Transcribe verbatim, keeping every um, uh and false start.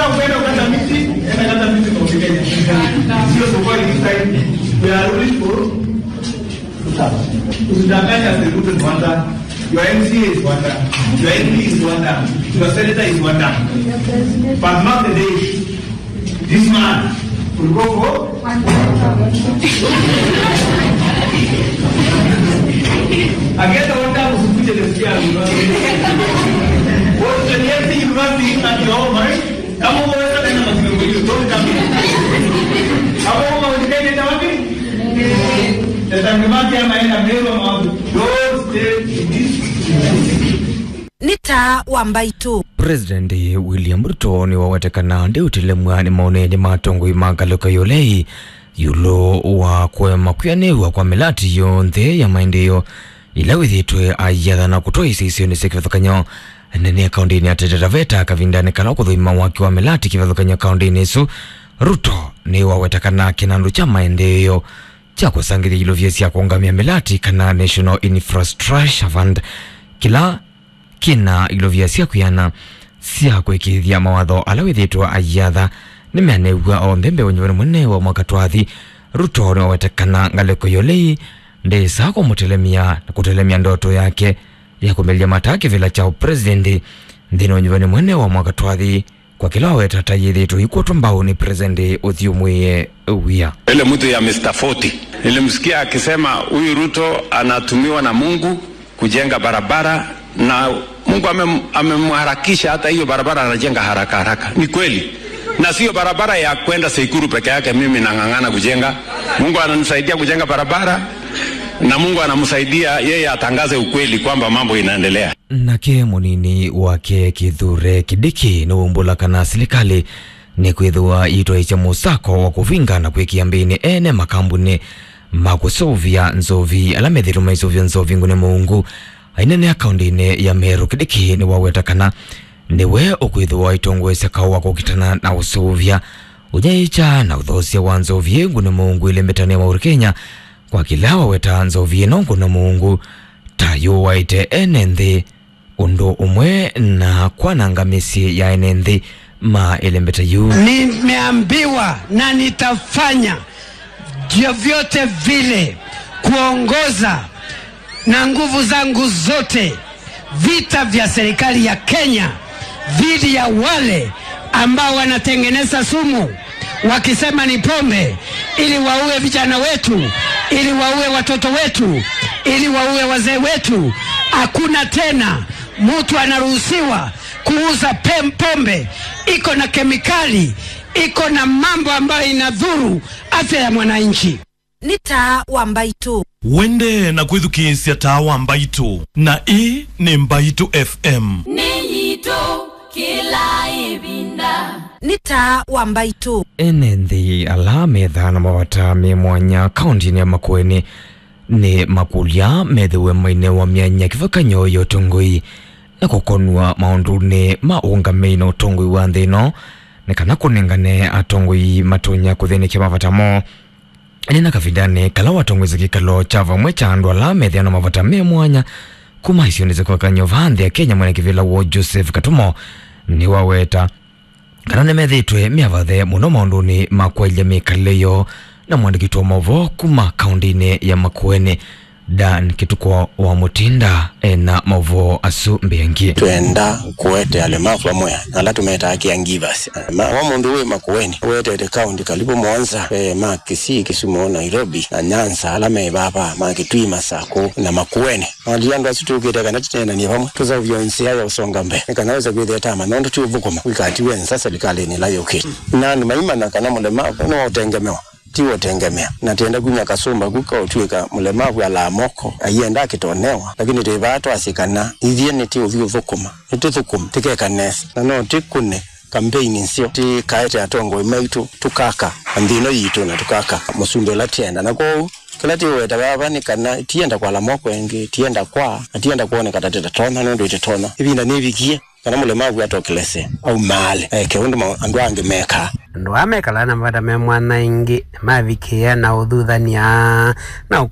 Kwenda kukata miti, enda kata miti kwa Kenya. Sio sokoni this time. We are ruling for Ruto. Usidanganye ati Ruto ni one term. Your M C A is one term. Your M P is one term. Your senator is one term. But not the day. This man will go for Agenda one term, usikuje nisikia university. What the university at your own, right? Kama unaweza nenda mazingira hiyo, don't come here. Kama uko unaenda wapi? Sasa ni wapi ama enda mbele ama wapi? Don't stay in this. Nĩ taa wa mbaitũ. President William Ruto nĩwawetekana ndĩũtelemw'a nĩ maoneenĩ ma atongoi ma ngalĩko ya ũlei ĩũlũ wa kũema kwĩanĩw'a kwa mĩlati yonthe ya maendeeo ĩla wĩthĩĩtwe ayĩathana kũtwaĩĩsya isionĩ sya kĩvathũkany'o nene kaũndĩnĩ ya Taita Taveta kavindanĩ kala ũkũthũima waki wa mĩlati kĩvathũkany'o kaũndĩnĩ ĩsu. Ruto nĩwaweta kana kĩnandũ kya maendeeo kya kũsangĩthya ilovia sya kũũngamĩa mĩlati kana National Infrastructure Fund kĩla kĩna ilovia sya kwĩana sya kũĩkĩĩthya mawatho ala wĩthĩĩtwe ayĩatha nĩmeanĩw'a onthe mbee wa ũnyuvani mũnene wa mwaka twathi. Ruto nĩwaweta kana ngalĩko ya ũlei ndĩsaa kũmũtelemya na kũtelemya ndoto yake ya kũmĩlya mataa kĩvĩla kya ũpresidenti nthĩnĩ wa ũnyuvani mũnene wa mwaka twathi. Kwa kĩla waweta ta yĩthĩĩtwe ikwotwa mbau nĩ President ũthyũmũĩe wia. Ile mtu ya Mister Forty, nilimsikia akisema huyu Ruto anatumiwa na Mungu kujenga barabara, na Mungu amem-, amemharakisha, hata hiyo barabara anajenga haraka haraka. Ni kweli. Na sio barabara ya kwenda Seikuru peke yake mimi nang'ang'ana kujenga. Mungu ananisaidia kujenga barabara, na Mungu anamsaidia yeye atangaze ukweli kwamba mambo inaendelea. Nake mũnini wake Kithure Kindiki nĩwaumbũla kana silikalĩ nĩkwĩthĩwa ĩitwaĩĩsya mũsako wa kũvinga na kwĩkĩa mbĩnĩ ene makambunĩ ma kũseũvya nzovi ala methĩĩtwe maiseũvya nzovi ngũne mũungu. Aineenea kaũndĩnĩ ya Meru, Kindiki nĩwaweta kana nĩwe ũkwĩthĩwa aitongoesya kaũ wa kũkitana na ũseũvya, ũnyaĩĩkya na ũthoosya wa nzovi ĩ ngũne mũungu ĩlembetanĩ ya Mount Kenya, kwa kĩla waweta nzovi ĩno ngũne mũungu ta yũaĩte ene nthĩ ũndũ ũmwe na kwananga mĩsyĩ ya ene nthĩ ma ĩlembeta yu. Nimeambiwa na nitafanya vyovyote vile kuongoza na nguvu zangu zote vita vya serikali ya Kenya dhidi ya wale ambao wanatengeneza sumu wakisema ni pombe, ili waue vijana wetu, ili waue watoto wetu, ili waue wazee wetu. Hakuna tena mtu anaruhusiwa kuuza pem-, pombe iko na kemikali, iko na mambo ambayo inadhuru afya ya mwananchi. Nĩ taa wa mbaitũ. Wende na kwĩthukĩĩsya taa wa mbaitũ, na ĩĩ nĩ Mbaitũ F M. Nĩ yitũ kĩla ĩvinda. Nĩ taa wa mbaitũ. Ene nthĩ ala methaa na mavata me mwanya kaũndĩnĩ ya Makueni nĩ makũlya methĩwe mainewa myanya kĩvathũkany'o ya ũtongoi na kũkonw'a maũndũnĩ ma ũũngamĩi na ũtongoi wa nthĩ ĩno, nĩ kana kũnengane atongoi matonya kũthĩnĩkya mavata moo. Ĩndĩ na kavindanĩ kala watongoesye kĩkalo kya vamwe kya andũ ala methĩawa na mavata me mwanya kuma isionĩ sya kĩvathũkany'o vaa nthĩ ya Kenya, mwene kĩvĩla woo Joseph Katumo nĩwaweta kana nĩmethĩĩtwe me avathe mũno maũndũnĩ ma kwaĩlya mĩkalĩle yoo na mũandĩki witũ wa maũvoo kuma kaũndĩnĩ ya Makueni, Dan Kĩtukũ wa Mũtinda ena maũvoo asu mbeangi. Twenda kũete alemavu amwe, ala tũmetaa caregivers. Ma, wa mũndũ wĩ Makueni, wetete kaũndĩ kalivu mũonza, eh, ma Kisii, Kisumu, Nairobi, na Nyanza, ala me vava, ma Kitui, Masaku, na Makueni. Mali andũ asu tũkĩte kana tũneenanie vamwe, tũseũvye nzĩa ya ũsonga mbee, nĩ kana wĩse kwĩthĩa tama, nũndũ ti ũthũkũma wĩkatiwe nza silikalĩnĩ ĩla yũkĩte. Na andũ maimanya kana mũlemavu nĩwaũtengemewa. Ti ũtengemea. Na tienda kumya kasũmba ku kaũtw'ĩka mũlemavu alaa moko, aienda akĩtonewa, lakini twĩ vaa twasye kana ithyĩ nĩtĩũthi ũthũkũma, nĩtũthũkũme, tĩkeka nesa, na no tĩkũne kambeini nzeo, tĩkaete atongoi maitũ, tũkaka nthĩ ĩno yitũ, na tũkaka mũsumbĩ ũla tienda. Na kwoou, kĩla tĩũweta vava nĩ kana tienda kwala moko ĩngĩ, tienda kwaa, na tienda kwoneka ta tũtatonya, nũndũ ĩtĩtonya. Ĩvinda nĩvikie. Kana mũlemavu atokelese, aumaale, eke ũndũ ma-, andũ angĩ mekaa. Andũ aa mekalaa na mavata me mwanya ĩngĩ nĩmavikĩĩa na ũthuthany'a na ũkũ-